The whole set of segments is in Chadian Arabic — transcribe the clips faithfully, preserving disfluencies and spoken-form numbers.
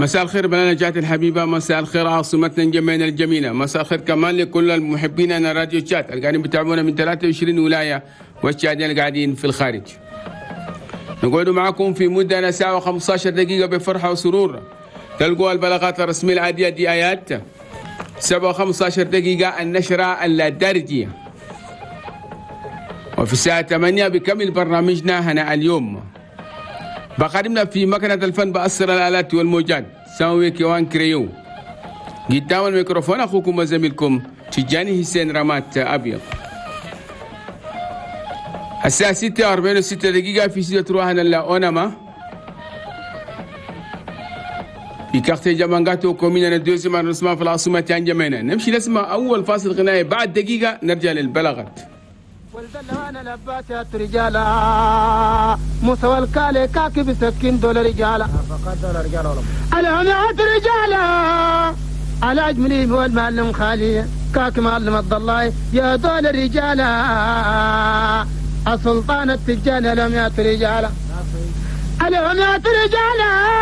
مساء الخير بلدنا تشاد الحبيبة، مساء الخير عاصمتنا انجمينا الجميلة، مساء الخير كمان لكل المحبين أنا راديو تشاد اللي قاعدين بتابعونا من ثلاثة وعشرين ولاية والتشاديين اللي قاعدين في الخارج. نقعد معكم في مدة ساعة وخمسة عشر دقيقة بفرحة وسرور. تلقوا البلاغات الرسمية العادية دي آيات سبعة وخمسة عشر دقيقة النشرة الدارجية. وفي الساعة ثمانية بكمل برنامجنا هنا اليوم. بقدمنا في مكنة الفن بأسر الآلات والموجات ساوي كيوان كريو. قدام الميكروفون أخوكم وزميلكم تجاني حسين رمات أبيض. الساعة ستة وأربعين وستة دقيقة في ستة روحنا لأونما في quartier جامانغاتو commune deuxième arrondissement في العاصمة انجمينا. نمشي نسمع أول فاصل غنائي، بعد دقيقة نرجع للبلاغات. والدلوان لباسات رجالا موسى والكالي كاكب سكين دول رجالا الهمات رجالا على أجملي والمعلم خالي كاك معلم عبد الله يا دول رجالا السلطان التجاني الهمات رجالا الهمات رجالا.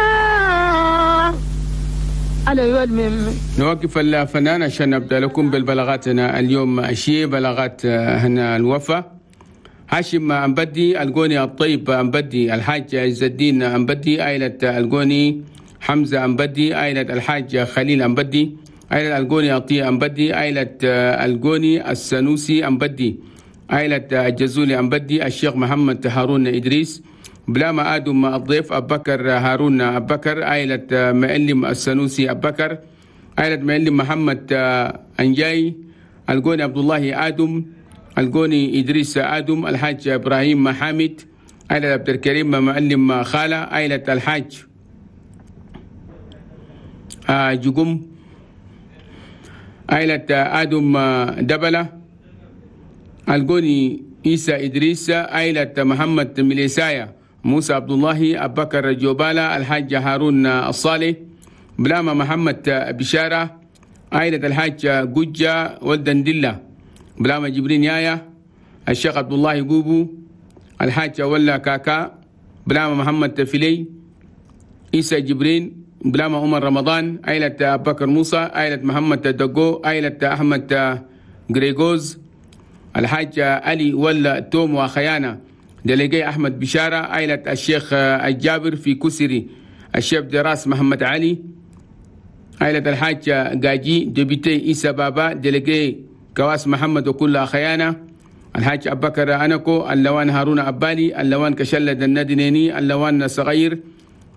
نوقف الفنان عشان نبدأ لكم بالبلاغاتنا اليوم. شيء بلاغات هنا الوفا هاشم أمبدي القوني الطيب أمبدي الحاج عز الدين أمبدي عائلة القوني حمزة أمبدي عائلة الحاج خليل أمبدي عائلة القوني عطية أمبدي عائلة القوني السنوسي أمبدي عائلة الجزولي أمبدي الشيخ محمد هارون إدريس بلاما آدم الضيف أبكر هارون أبكر عائلة معلم السنوسي أبكر عائلة معلم محمد أنجاي القوني عبد الله آدم القوني إدريس آدم الحاج إبراهيم محامد عائلة عبد الكريم معلم خالة عائلة الحاج جقم عائلة آدم دبلة القوني عيسى إدريس عائلة محمد مليسايا موسى عبد الله أبكر جوبالا الحاج هارون الصالح بلاما محمد بشارة عائلة الحاج جوجة ولدندلة بلاما جبرين يايا الشيخ عبد الله جوبو الحاج ولا كاكا بلاما محمد فيلي عيسى جبرين بلاما عمر رمضان عائلة أبكر موسى عائلة محمد دقو عائلة أحمد غريغوز الحاج علي ولا توم وخيانة دليجي أحمد بشارة عائلة الشيخ الجابر في كسري الشيخ دراس محمد علي عائلة الحاج جاجي député إيسا بابا délégué كواس محمد وكل خيانة الحاج أبكر أنكو اللوان هارون أبالي اللوان كشلة الندنيني اللوان صغير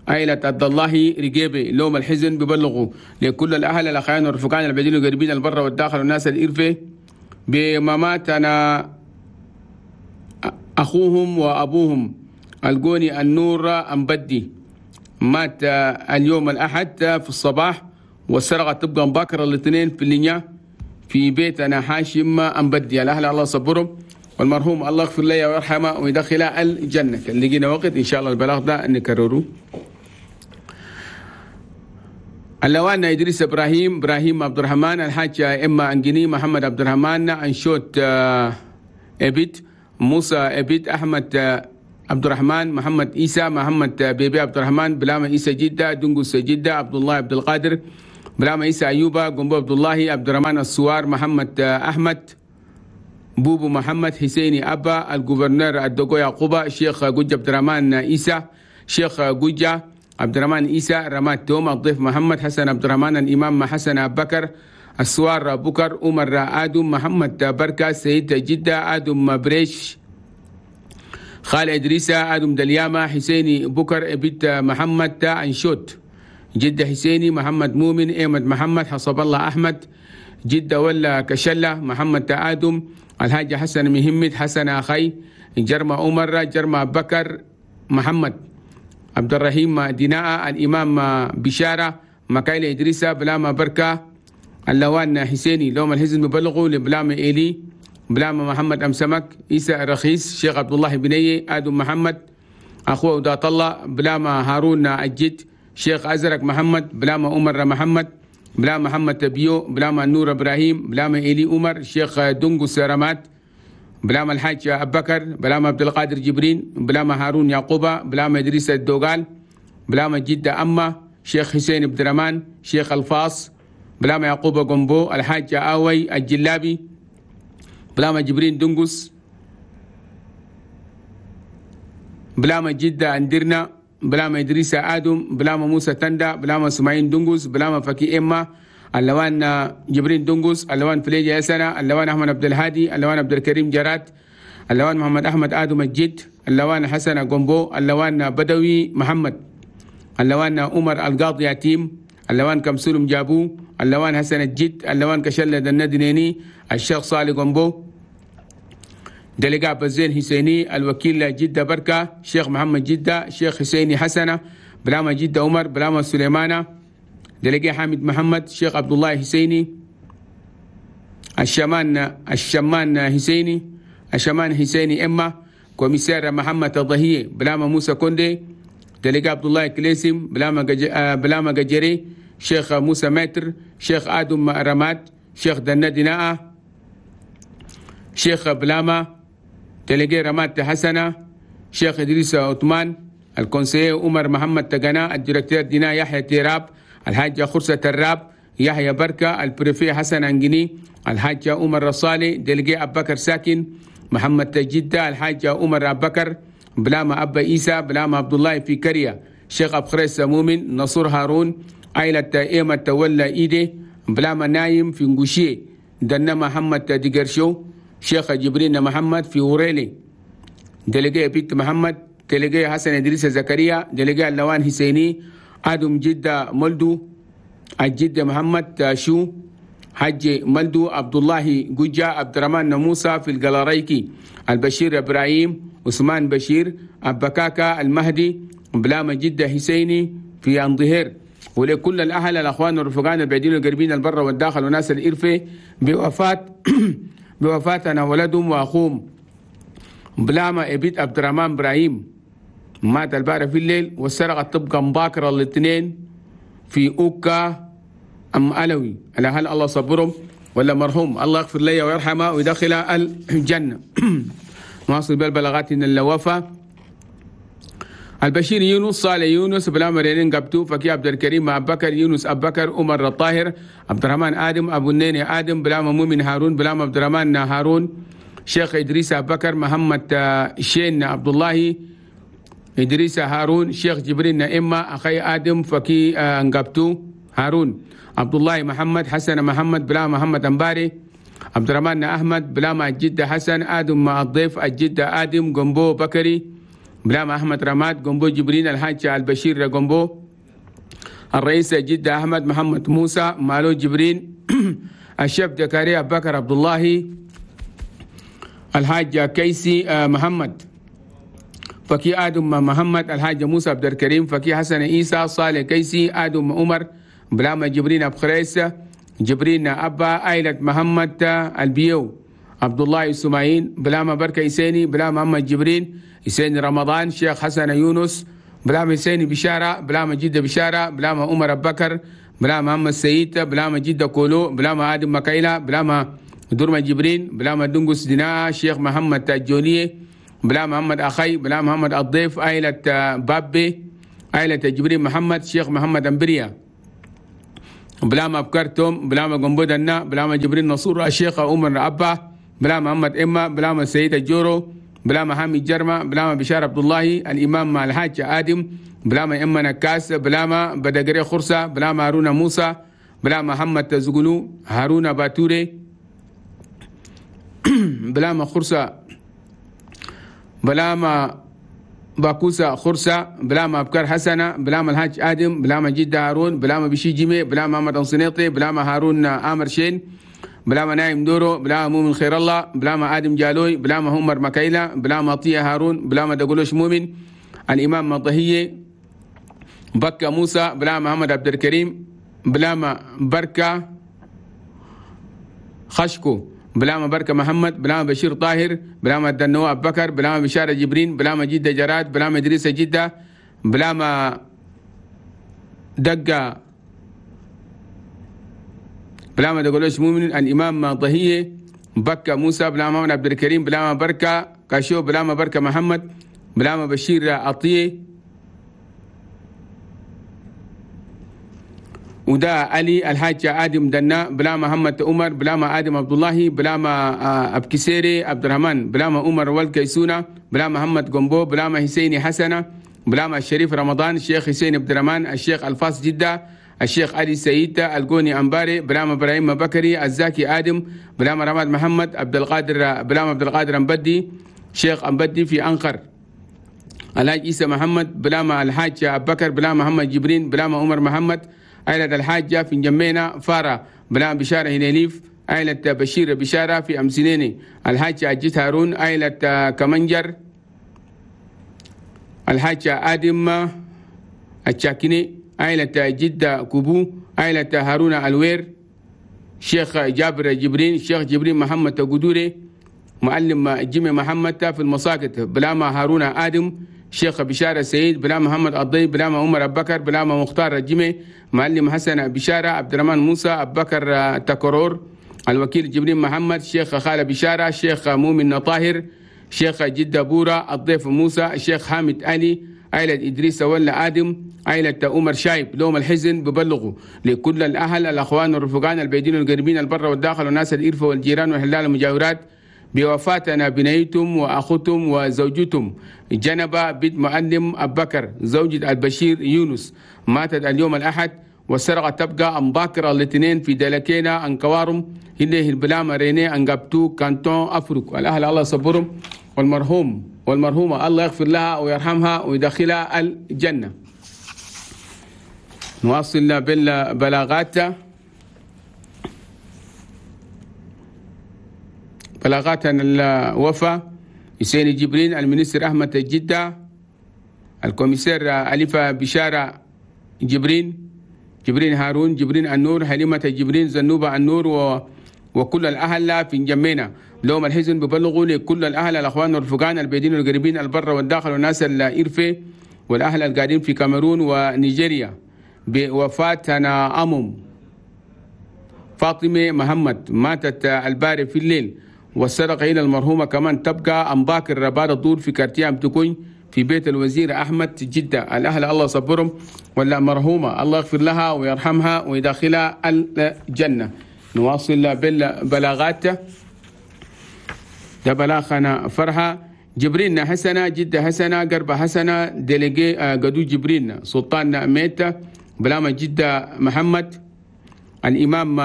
عائلة عبد الله رجيبي لوم الحزن ببلغوا لكل الأهل الأخيان والرفقان البعيدين والقريبين البر والداخل والناس الإرفة بممات أنا أخوهم وأبوهم القوني النور أمبدي مات اليوم الأحد في الصباح والسرقة تبقى مبكرة الاثنين في اللينيا في بيتنا هاشم أمبدي. الأهل الله صبرهم والمرحوم الله يغفر له ويرحمه ويدخله الجنة. لقينا وقت إن شاء الله البلاغ ده نكرره. اللوان إدريس إبراهيم إبراهيم عبد الرحمن الحاج إما أنجني محمد عبد الرحمن أنشوت إبيت موسى أبيت أحمد عبد الرحمن محمد عيسى محمد بيبي عبد الرحمن بلاما عيسى جدة دنقس جدة عبد الله عبد القادر بلاما عيسى أيوبا قنبو عبد الله عبد الرحمن السوار محمد أحمد بوبو محمد حسيني أبا ال gouverneur الدقو يعقوبة شيخ جوجة عبد الرحمن عيسى شيخ جوجة عبد الرحمن عيسى رماد توم الضيف محمد حسن عبد الرحمن الإمام حسن أبو بكر السوار بكر عمر آدم محمد بركة سيد جدة آدم بريش خالد إدريسة آدم دليامة حسيني بكر بيت محمد أنشوت جدة حسيني محمد مؤمن أحمد محمد حسب الله أحمد جدة ولا كشلة محمد آدم الحاج حسن مهمد حسن أخي جرمى عمر جرمى بكر محمد عبد الرحيم ديناء الإمام بشارة مكايل إدريسة بلاما بركة اللوان حسيني لوم الحزن مبلغوا لبلاما إيلي بلاما محمد أمسمك عيسى الرخيص شيخ عبد الله بني آدم محمد أخوه ودات الله بلاما هارون الجد شيخ أزرق محمد بلاما عمر محمد بلاما محمد بيو بلاما نور إبراهيم بلاما إيلي عمر شيخ دونغو سرمات بلاما الحاج أبو بكر بلاما عبد القادر جبرين بلاما هارون يعقوبة بلاما إدريس الدوغال بلاما جدة أما شيخ حسين عبد الرحمن شيخ الفاص بلاما يعقوب قنبو الحاج آوي الجلابي بلاما جبرين دنقس بلاما جدة أندرنا بلاما إدريس آدم بلاما موسى تندا بلاما سماعين دنقس بلاما فكي إما اللوان جبرين دنقس اللوان فليجة يسنة اللوان أحمد عبد الهادي اللوان عبد الكريم جرات اللوان محمد أحمد آدم الجد اللوان حسن قنبو اللوان بدوي محمد اللوان عمر القاضي يتيم اللوان كمسولم جابو اللوان حسن الجد اللوان كشلة الندنيني الشيخ صالح قنبو دلقاء بزين حسيني الوكيل جدة بركة شيخ محمد جدة شيخ حسيني حسنة بلاما جدة عمر بلاما سليمانة دلقاء حامد محمد شيخ عبد الله حسيني الشمان الشمان حسيني الشمان حسيني إما كوميسير محمد الضهية بلاما موسى كوندي دلقاء عبد الله كليسم بلاما بلاما جري شيخ موسى متر شيخ آدم رماد شيخ دنا شيخ بلاما تلقي رماد حسنة شيخ إدريس عثمان ال conseiller عمر محمد تقنا ال directeur دينا يحيى تيراب الحاج خرسة الراب يحيى بركة ال préfet حسن أنجني الحاج عمر رصالي délégué أبو بكر ساكن محمد جدة الحاج عمر أبو بكر بلاما أبا إيسى بلاما عبد الله في كريا شيخ أبو خريس مؤمن نصر هارون عائلة إيمة تولى إيدي بلاما نايم في نقوشي دنا محمد ديجرشو شيخ جبرين محمد في وريلي délégué بيت محمد délégué حسن إدريس زكريا délégué اللوان حسيني آدم جدة ملدو الجد محمد شو حج ملدو عبد الله جوجا عبد الرحمن موسى في القلاريكي البشير إبراهيم عثمان بشير أبكاكا المهدي بلاما جدة حسيني في أنظهير. ولكل الأهل الأخوان والرفقان البعيدين والقريبين البر والداخل وناس الإرفة بوفاة بوفاتنا ولدهم وأخوهم بلاما إبيت عبد الرحمن إبراهيم مات البارح في الليل والسرقة تبقى مباكرة الاثنين في أوكا أم ألوي. الأهل الله صبرهم ولا مرحوم الله يغفر لي ويرحمه ويدخل الجنة. نواصل بالبلاغات إن الوفا البشير يونس صالح يونس بلا مرينين قبتو فكي عبد الكريم أبو بكر يونس أبو بكر عمر الطاهر عبد الرحمن آدم أبو النيني آدم بلا مؤمن هارون بلا عبد الرحمن هارون شيخ إدريس أبو بكر محمد شين عبد الله إدريس هارون شيخ جبرين إما أخي آدم فكي قبتو هارون عبد الله محمد حسن محمد بلا محمد أنباري عبد الرحمن أحمد بلا الجدة حسن آدم مع الضيف الجدة آدم قنبو بكري بلاما أحمد رماد قنبو جبرين الحاج البشير قنبو الرئيس جدة أحمد محمد موسى مالو جبرين الشيف زكريا أبو بكر عبد الله الحاج كيسي محمد فكي آدم محمد الحاج موسى عبد الكريم فكي حسن عيسى صالح كيسي آدم عمر بلاما جبرين أبو خريس جبرين أبا عائلة محمد البيو عبد الله إسماعيل بلاما بركة إسيني بلاما محمد جبرين إسيني رمضان شيخ حسن يونس بلاما إسيني بشارة بلاما جدة بشارة بلاما عمر أبو بكر بلاما محمد سيد بلاما جدة كولو بلاما آدم مكايلة بلاما درما جبرين بلاما دنقس دينا شيخ محمد الجونية بلاما محمد أخي بلاما محمد الضيف عائلة بابي عائلة جبرين محمد شيخ محمد أمبريا بلاما أبكرتم بلاما قنبودنا بلاما جبرين نصور الشيخ عمر أبا بلاما محمد إما بلاما سيد الجورو بلاما حامد جرمة بلاما بشار عبد الله الإمام مع الحاج آدم بلاما إما نكاس بلاما بدقري خرسة بلاما هارون موسى بلاما محمد زغلو هارون باتوري بلاما خرسة بلاما باكوسة خرسة بلاما أبكر حسنة بلاما الحاج آدم بلاما جدة هارون بلاما بشي جيمي بلاما محمد أنصنيطي بلاما هارون آمر شين بلاما نايم دورو بلاما مؤمن خير الله بلاما آدم جالوي بلاما عمر مكايلة بلاما طية هارون بلاما دقولوش مؤمن الإمام مطهية بكة موسى بلاما محمد عبد الكريم بلاما بركة خشكو بلاما بركة محمد بلاما بشير طاهر بلاما الدنو أبو بكر بلاما بشارة جبرين بلاما جدة جراد بلاما إدريس جدة بلاما دقة بلاما دقولوش مؤمن الإمام ضهية بكة موسى بلاما محمد عبد الكريم بلاما بركة كاشو بلاما بركة محمد بلاما بشير عطية ودا علي الحاج آدم دنا بلا محمد عمر بلا ما آدم عبد الله بلا ما أبكسيري عبد الرحمن بلا ما عمر والكيسونة بلا محمد قنبو بلا ما حسيني حسنة بلا ما الشريف رمضان الشيخ حسين عبد الرحمن الشيخ الفاس جدة الشيخ علي سيد القوني أنباري بلا ما إبراهيم بكري الزاكي آدم بلا ما رماد محمد عبد القادر بلا ما عبد القادر أمبدي شيخ أمبدي في أنقر الحاج عيسى محمد بلا ما الحاج أبو بكر بلا محمد جبرين بلا ما عمر محمد عائلة الحاجة في جمينة فارة بلا بشارة هناليف عائلة بشير بشارة في أمسنيني الحاج أجيت هارون عائلة كمنجر الحاج آدم الشاكيني عائلة جدة كوبو عائلة هارون الوير شيخ جابر جبرين شيخ جبرين محمد قدوري معلم جيمي محمد في المساقط بلاما هارون آدم شيخ بشارة سعيد بلا محمد الضي بلا ما عمر أبو بكر بلا ما مختار الجمي معلم حسن بشارة عبد الرحمن موسى أبو بكر تكرور الوكيل جبريل محمد شيخ خالد بشارة شيخ مؤمن طاهر شيخ جدة بورا الضيف موسى الشيخ حامد علي عائلة إدريس ولا آدم عائلة عمر شايب. لوم الحزن ببلغوا لكل الأهل الأخوان والرفقان البعيدين والقريبين البر والداخل والناس الإرفة والجيران والحلال المجاورات بوفاتنا بنيتم وأخوتم وزوجتم جنبة بنت معلم أبو بكر زوجة البشير يونس ماتت اليوم الأحد والسرقة تبقى أمباكر الاثنين في دلكينا أنكوارم هنيه البلامة ريني أنقبتو كانتون أفريق. الأهل الله صبرهم والمرحوم والمرحومة الله يغفر لها ويرحمها ويدخلها الجنة. نواصل بالبلاغات بلاغاتنا الوفا حسين جبرين المنستر أحمد جدة ال commissaire أليفة بشارة جبرين جبرين هارون جبرين النور حليمة جبرين زنوبة النور و... وكل الأهل في جمينا. لوم الحزن ببلغوا لكل الأهل الأخوان والرفقان البعيدين والقريبين البر والداخل والناس الإرفة والأهل القاعدين في كاميرون ونيجيريا بوفاتنا أمم فاطمة محمد ماتت الباري في الليل والسرقة إلى المرحومة كمان تبقى أمباكر بعد الدور في كارتيام تكون في بيت الوزير أحمد جدة. الأهل الله صبرهم ولا مرحومة الله يغفر لها ويرحمها ويدخلها الجنة. نواصل بالبلاغات. ده بلاغنا فرحة جبرين حسنة جدة حسنة قربة حسنة ديليجي قدو جبرين سلطان ميت بلاما جدة محمد الإمام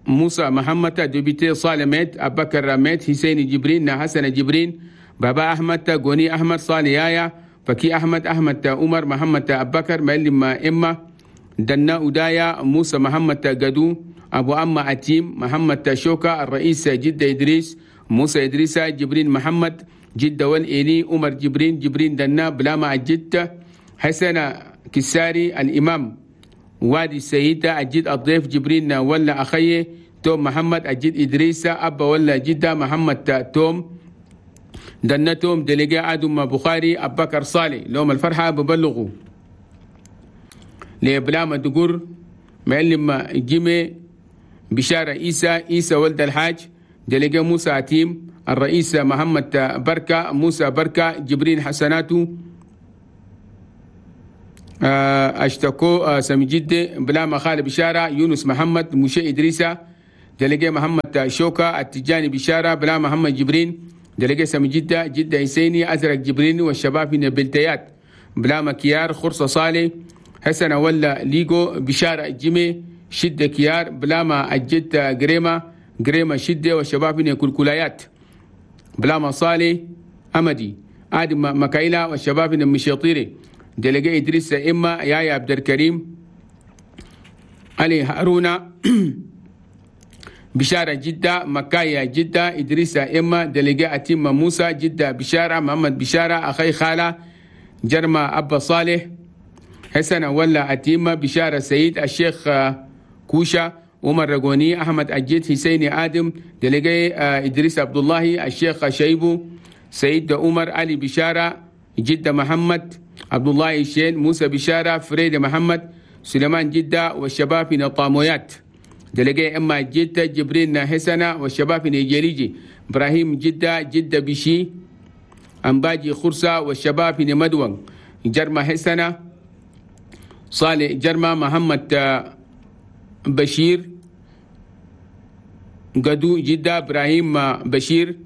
موسى محمد député صالح ميت أبو بكر ميت حسين جبرين حسن جبرين بابا أحمد غوني أحمد صالح يايا فكي أحمد أحمد عمر محمد أبو بكر معلم إما دنا أودايا موسى محمد قدو أبو أما أتيم محمد شوكا الرئيس جدة إدريس موسى إدريس جبرين محمد جدة والإيلي عمر جبرين جبرين دنا بلاما الجدة حسن كساري الإمام وادي السيدة الجد الضيف جبرين ولا أخيه توم محمد الجد إدريس أبا ولا جدة محمد توم دنا توم دلقاء آدم بخاري أبو بكر صالح. لهم الفرحة ببلغوا لبلاما دقور معلم جيمي بشارة إيسى إيسى ولد الحاج دلقاء موسى عتيم الرئيس محمد بركة موسى بركة جبرين حسناتو اشتكو سامي جدة بلاما خالد بشارة يونس محمد موشي إدريسة دلقاء محمد شوكا التجاني بشارة بلا محمد جبرين دلقاء سامي جدة جدة حسيني أزرق جبرين والشباب من البلتيات بلاما كيار خرصة صالح حسن ولا ليجو بشارة جيمي شدة كيار بلاما الجد جريمة جريمة شدة والشباب من الكلكولايات بلاما صالح أمدي آدم مكايلا والشباب من المشيطيري دلقاء إدريس إما يايا عبد الكريم علي هارون بشارة جدة مكايا جدة إدريس إما دلقاء أتيم موسى جدة بشارة محمد بشارة أخي خالة جرمى أبا صالح حسن ولا أتيمة بشارة سيد الشيخ كوشا عمر رقوني أحمد أجيد حسين آدم دلقاء إدريس عبد الله الشيخ شيبو سيد عمر علي بشارة جدة محمد عبد الله الشين موسى بشارة فريد محمد سليمان جدة والشباب من الطامويات دلقاء إما جدة جبرين حسنة والشباب من جريجي إبراهيم جدة جدة بشي أمباجي خرسة والشباب من مدون جرمى حسنة صالح جرمى محمد بشير قدو جدة إبراهيم بشير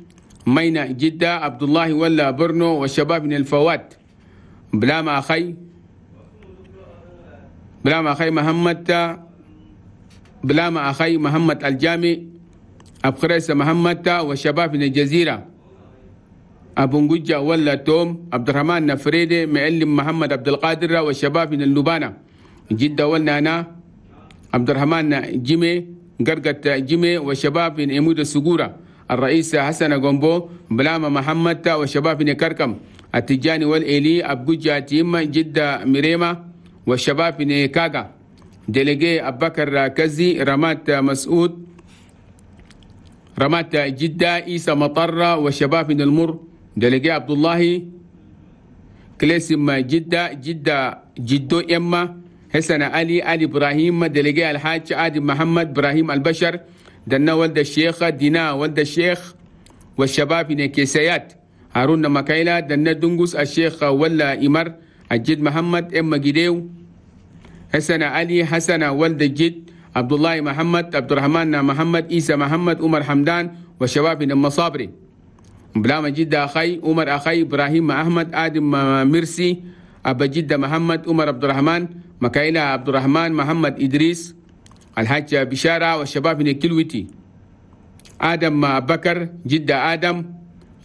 مينا جدة عبد الله ولا برنو والشباب من الفوات بلاما أخي بلاما أخي محمد بلاما أخي محمد الجامي أبخريس محمد والشباب من الجزيرة أبو نجة ولا توم عبد الرحمن نفريدي معلم محمد عبد القادر والشباب من اللبانة جدة ولا أنا عبد الرحمن جيمي قرقة جيمي والشباب من إمود السجورة الرئيس حسن جومبو بلاما محمد والشباب من كركم التجاني والإلي أبجوجة تيم جدة مريمة والشباب من كاغا ديليجي أبكر كزي رمات مسعود رمات جدة إيسا مطرة والشباب من المر ديليجي عبد الله كليسم جدة جدة جدو إما حسن علي علي إبراهيم ديليجي الحاج آدم محمد إبراهيم البشر دنا ولد الشيخ دينا ولد الشيخ والشباب من كيسيات هارون مكايلا دنا دنجوس الشيخ ولا إمر الجد محمد إما جديو حسن علي حسن ولد الجد عبد الله محمد عبد الرحمن محمد إيسى محمد عمر حمدان والشباب من المصابري بلاما جدة أخي عمر أخي إبراهيم أحمد آدم مرسي أبا جدة محمد عمر عبد الرحمن مكايلا عبد الرحمن محمد إدريس الحاج بشارة والشباب من الكلوتي آدم بكر جدة آدم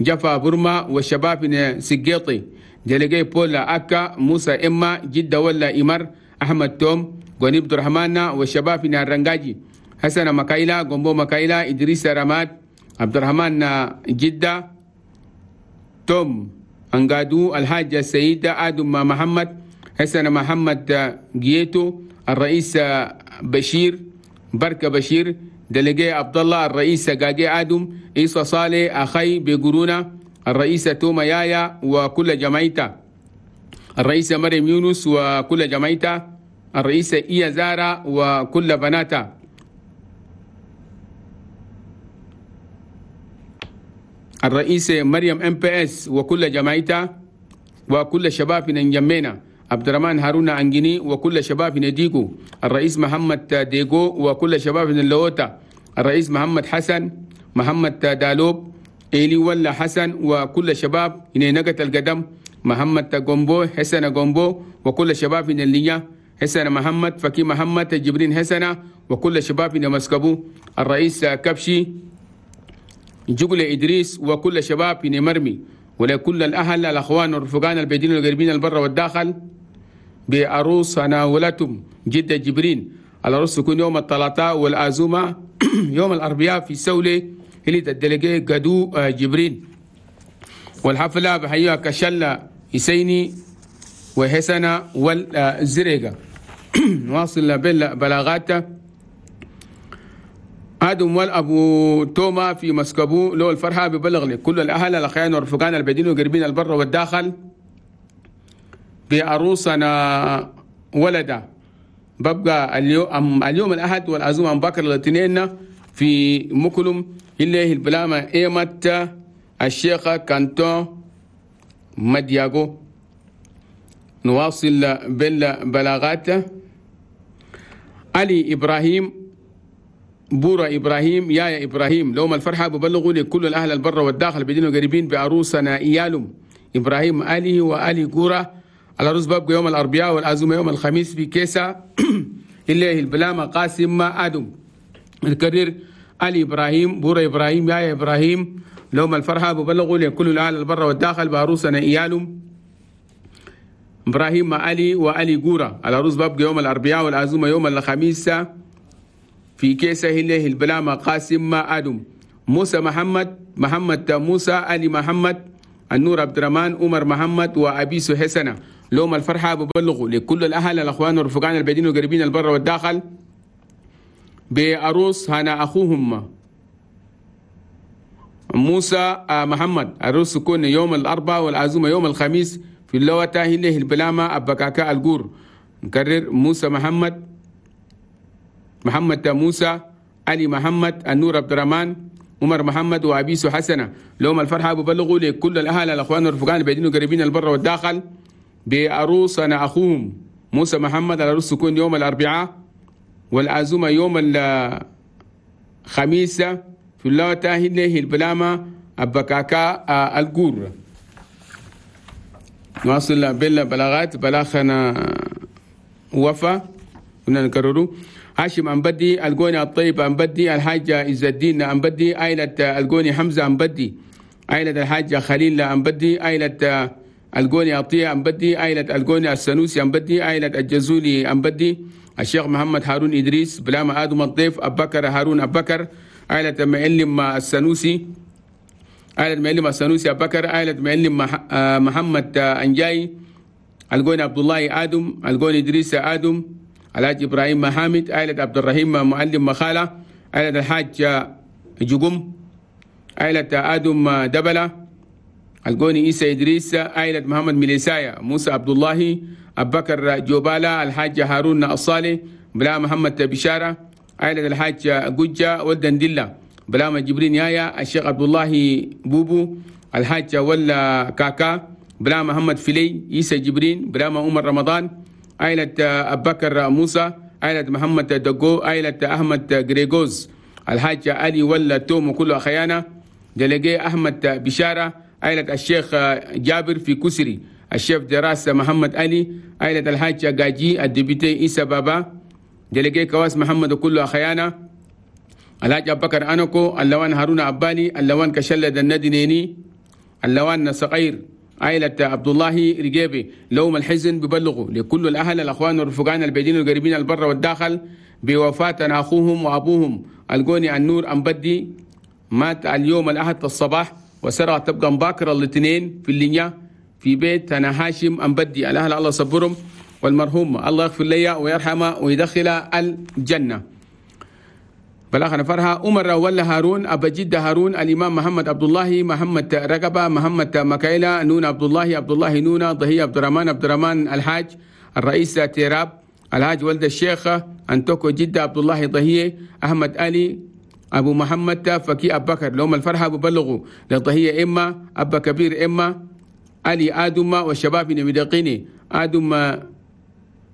جفا برما والشباب من سجيطي ديليجي بولا أكا موسى إما جدة ولا إمر أحمد توم غني عبد الرحمن والشباب من الرنجاجي حسن مكايلا غومبو مكايلا إدريس رماد عبد الرحمن جدة توم أنغادو الحاج السيد آدم محمد حسن محمد جيتو الرئيس بشير بركة بشير دلقي عبد الله الرئيس جاجي آدم إيسا صالح أخي بقرونا الرئيس توما يايا وكل جماعته الرئيس مريم يونس وكل جماعته الرئيس إيا زارا وكل بناته الرئيس مريم ام بي اس وكل جماعته وكل شباب من جمينا عبد الرحمن هارون أنجيني وكل شباب من ديغو الرئيس محمد ديغو وكل شباب من اللوتا الرئيس محمد حسن محمد دالوب إيلي ولا حسن وكل شباب من نقة القدم محمد جومبو حسن جومبو وكل شباب من الليا حسن محمد فكي محمد جبرين حسن وكل شباب من مسكبو الرئيس كبشي جقل إدريس وكل شباب من مرمي ولكل الأهل الأخوان والرفقان البعيدين والقريبين البر والداخل بعروس ناولتهم جدة جبرين. العروس تكون يوم الثلاثاء والعزومة يوم الأربعاء في سولة اللي تدلقي قدو جبرين. والحفلة بحيوها كشلة يسيني وحسنة والزريقة. نواصل بالبلاغات. آدم والأبو توما في مسكبو لو الفرحة ببلغ لكل الأهل الأخيان والرفقان البعيدين والقريبين البر والداخل بعروسنا ولدا ببقى اليوم اليوم الأحد والعزومة بكر الاثنين في مكلم اللي البلامة إيمت الشيخ كانتون مدياغو. نواصل بالبلاغات. علي إبراهيم بورا إبراهيم يا إبراهيم لوم الفرحة ببلغوا لكل الأهل البر والداخل بدين وقريبين بعروسنا إيالهم إبراهيم علي وآلي جورا. العروس بابقى يوم الأربعاء والعزومة يوم الخميس في كيسة اللي البلامة قاسم آدم. الكرير علي إبراهيم بورا إبراهيم يا إبراهيم لوم الفرحة ببلغوا لكل الأهل البر والداخل بعروسنا إيالهم إبراهيم علي وآلي جورا. العروس بابقى يوم الأربعاء والعزومة يوم الخميس في كيسة الله البلامة قاسم آدم. موسى محمد محمد موسى علي محمد النور عبد الرحمن عمر محمد وأبيس حسنة لوم الفرحة ببلغوا لكل الأهل الأخوان والرفقان البعيدين والقريبين البر والداخل بعروس هنا أخوهم موسى محمد. العروس تكون يوم الأربعاء والعزومة يوم الخميس في اللوتة هله البلامة أبكاكا الجور. نكرر موسى محمد محمد موسى علي محمد النور عبد الرحمن عمر محمد وأبيس حسنة لهم الفرحة ببلغوا لكل الأهل الأخوان والرفقان البعيدين والقريبين البر والداخل بعروسنا أخوهم موسى محمد. العروس تكون يوم الأربعاء والعزومة يوم الخميس في اللوتا هي البلامة أبكاكا الجور. نواصل بالبلاغات. بلاغنا وفا كنا نكرره. هاشم أنبدي، الجوني الطيب أنبدي، الحاج عز الدين أنبدي، عائلة الجوني حمزة أنبدي، عائلة الحاج خليل أنبدي، عائلة الجوني عطية أنبدي، عائلة الجوني السنوسي أنبدي، عائلة الجزولي أنبدي، الشيخ محمد هارون إدريس، بلامة آدم الضيف، أبكر هارون أبكر، عائلة معلم السنوسي، عائلة معلم السنوسي أبكر، عائلة معلم محمد أنجاي، الجوني عبد الله آدم، الجوني إدريس آدم، الحاج إبراهيم محامد، عائلة عبد الرحيم معلم مخالة، عائلة الحاج جقم، عائلة آدم دبلة، الجوني إيسى إدريس، عائلة محمد ميليسايا، موسى عبد الله، أبكر جوبالا، الحاج هارون الصالح، بلا محمد بشارة، عائلة الحاج جوجة ولدندلة، بلا جبرين يايا، الشيخ عبد الله بوبو، الحاج ولا كاكا، بلا محمد فيلي، إيسى جبرين، بلا عمر رمضان، عائلة أبكر موسى، عائلة محمد دقو، عائلة أحمد غريغوز، الحاج علي ولا توم وكل أخيانا، دلقي أحمد بشارة، عائلة الشيخ جابر في كسري، الشيف دراسة محمد علي، عائلة الحاج جاجي، ال député إيسى بابا، délégué كواس محمد وكل أخيانا، الحاج أبكر أنكو، اللوان هارون أبالي، اللوان كشلد الندنيني، اللوان صغير، عائلة عبد الله رجيبي. لوم الحزن ببلغوا لكل الأهل الأخوان والرفقان البعيدين والقريبين البر والداخل بوفاة أخوهم وأبوهم الجوني النور أنبدي، مات اليوم الأحد الصباح وسرع تبقى مباكر الاثنين في اللينيا في بيت أنا هاشم أنبدي. الأهل الله صبرهم، والمرحوم الله يغفر لي ويرحمه ويدخل الجنة. بلاغنا فرها عمر ولا هارون، أبا جدة هارون، الإمام محمد عبد الله، محمد رقبة، محمد مكايلة، نون عبد الله، عبد الله نونا، ضهي عبد الرحمن، عبد الرحمن الحاج، الرئيس تيراب، الحاج ولد الشيخ أنتوكو جدة، عبد الله ضهية، أحمد علي، أبو محمد فكي أبو بكر. لهم الفرحة ببلغوا للضهية إما أبا كبير إما علي آدم والشباب نمدقيني آدم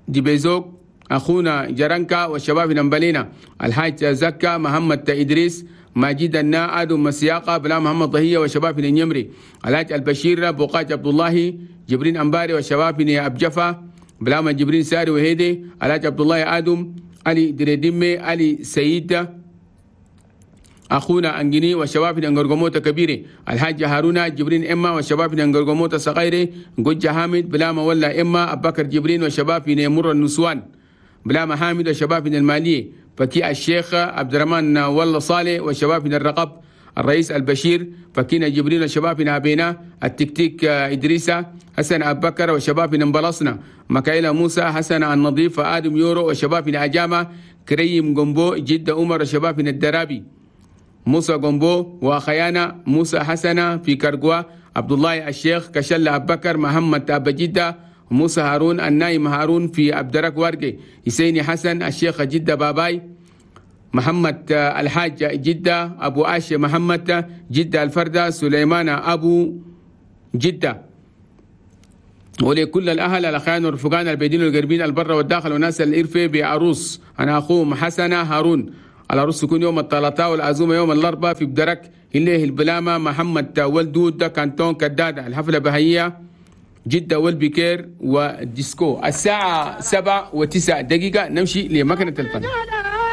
ديبيزوك، أخونا جرانكا والشباب نمبلينا، الحاج زكا، محمد إدريس، ماجد النا، آدم مسياقة، بلا محمد ضهية والشباب النمري، الحاج البشير، بوقاج عبد الله، جبرين أنباري والشباب أبجفا، بلا جبرين ساري وهيدي، الحاج عبد الله آدم، علي دريدمي، علي سيد، أخونا أنجني والشباب نغرغموتا كبيري، الحاج هارون جبرين إما والشباب نغرغموتا صغيري، جوجا حامد، بلا ما ولا إما، أبكر جبرين والشباب مر النسوان، بلا محامد والشباب من المالية، فكي الشيخ عبد الرحمن ولا صالح والشباب من الرقب، الرئيس البشير، فكينا جبرين والشباب من أبينا، التكتيك إدريسة، حسن أبو بكر والشباب من بلصنا، مكايلة موسى، حسن النظيف، آدم يورو والشباب من أجامة، كريم جنبو، جدة عمر والشباب من الدرابي، موسى جنبو وخيانة، موسى حسنة في كرقوا، عبد الله الشيخ، كشل أبو بكر، محمد أبو جدة، موسى هارون، النايم هارون في عبدرك وارقي، حسيني حسن، الشيخ جدة باباي، محمد الحاج جدة، أبو عاشي محمد جدة الفردة، سليمان أبو جدة. ولكل الأهل الأخيان والرفقان البيدين والقربين البر والداخل وناس الإرفة بعروس، أنا أخوهم حسنة هارون. العروس تكون يوم الثلاثاء والعزومة يوم الأربعاء في بدرك الليه البلامة محمد ولدود كانتون كدادة. الحفلة بهية جدة والبكير وديسكو. الساعة سبعة وتسع دقيقة نمشي لمكنة الفن.